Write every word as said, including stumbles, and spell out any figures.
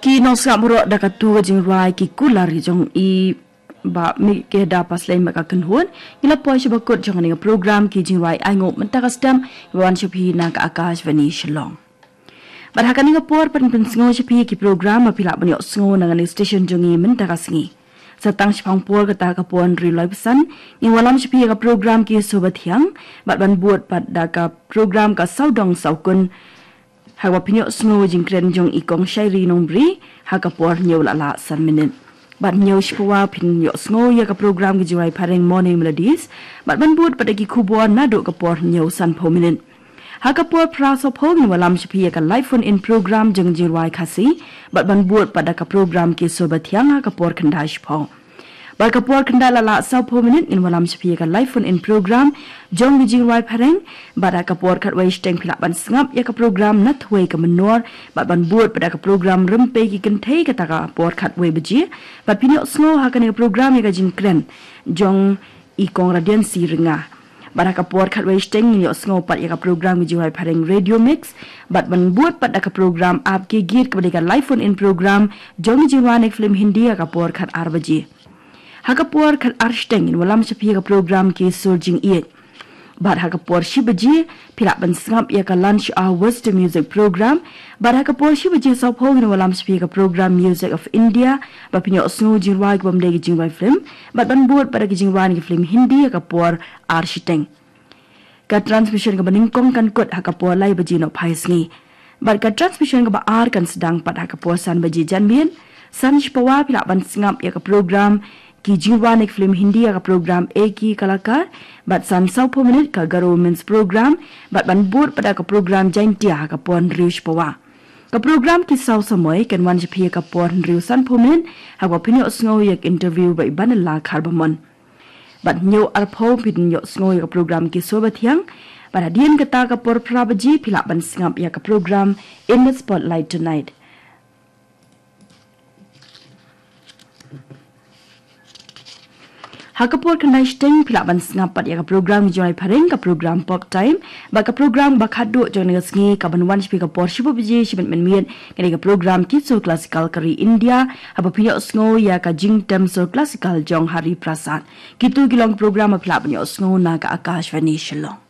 Ki nongsngap baroh, da katu ka jingrwai Ki Kular jong i Bah Mikeda Paslem bad ka kynhun, ngi la poi sha ba kut jong kane ka program Ki Jingrwai Ainguh mynta ka step, ba wan sha phi na ka Akashvani Shillong. Bad ha kane ka por, ban pynsngew sha phi ki program ba phi lah ban ïohsngew na kane ka station jong ngi mynta ka sngi. Sa tang shaphang por kata ka por hynriew lai basan, ngin wallam sha phi ïa ka program Ki Sur Bathiang, bad ban bud pat da ka program Ka Sawdong Sawkun, ha kaba phin ïohsngew jingkren jong i Kong Shairi Nongbri, ha ka por hynñiew la lah san minit. Bad hynñiew shiphew phin ïohsngew ïa ka program Ki Jingrwai Phareng Morning Melodies, bad ban bud pat da ki khubor naduh ka por hynñiew sanphew minit. Ha ka por phra sawphew ngin wallam sha phi ïa ka live phone in program jong Jingrwai Khasi, bad ban bud pat da ka program Ki Sur Bathiang ha ka por khyndai shiphew. Bad ka por khyndai la lah sawphew minit ngin wallam sha phi ïa ka live phone in program jong Ki Jingrwai Phareng, bad ha ka por khatwei shiteng phi lah ban sngap ïa ka program Nathwei Ka Mynnor, bad ban bud pat da ka program Rympei Ki Kynthei kata ka por khatwei baje, bad phin ïohsngew ha kane ka program ïa ka jingkren jong i Kong Radiancy Rynga. Bad ha ka por khatwei shiteng ngin ïohsngew pat ïa ka program Ki Jingrwai Phareng Radio Mix, bad ban bud pat da ka program Aap Ke Geet kaba dei ka live phone in program jong Ki Jingrwai ne ka film Hindi ha ka por khatar baje. Ha ka por khatar shiteng ngin wallam sha phi ïa ka program Ki Sur Jingïeit. Bad ha ka por shi baje phi lah ban sngap ïa ka Lunch Hour Western Music Program. Bad ha ka por shi baje sawphew ngin wallam sha phi ïa ka program Music of India, ba phin ïohsngew jingrwai kibym dei ki jingrwai film, bad ban bud pat da ki jingrwai ne ki film Hindi ha ka por ar shiteng. Ka transmission kaba nyngkong kan kut ha ka por lai baje nohphai sngi. Bad ka transmission kaba ar kan sdang pat ha ka por san baje janmiet. San shiphew phi lah ban sngap ïa ka program Ki Jingrwai ne ki film Hindi ha ka program Ek Hi Kalakar, bad san sawphew minit ka Garo Women's Program, bad ban bud pat da ka program Jaintia ha ka por hynriew shiphew. Ka program Ki Saw Samoi kan wan sha phi ha ka por hynriew sanphew minit, ha kaba phin ïohsngew ïa ka interview bad i Banala Kharbamon. Bad hynñiew arphew phin ïohsngew ïa ka program Ki Sur Bathiang, bad hadien kata ka por phra baje phi lah ban sngap ïa ka program In the Spotlight Tonight. Ha ka por khyndai shiteng phi lah ban sngap pat ïa ka program Ki Jingrwai Phareng, ka program Pop Time, bad ka program ba khadduh jong kane ka sngi kaban wan sha phi ka por shiphew baje shi minit mynmiet, ka dei ka program Ki Sur Classical ka ri India, haba phin ïohsngew ïa ka jingtem sur classical jong Hari Prasad. Kito ki long ki program ba phi lah ban ïohsngew na ka Akashvani Shillong.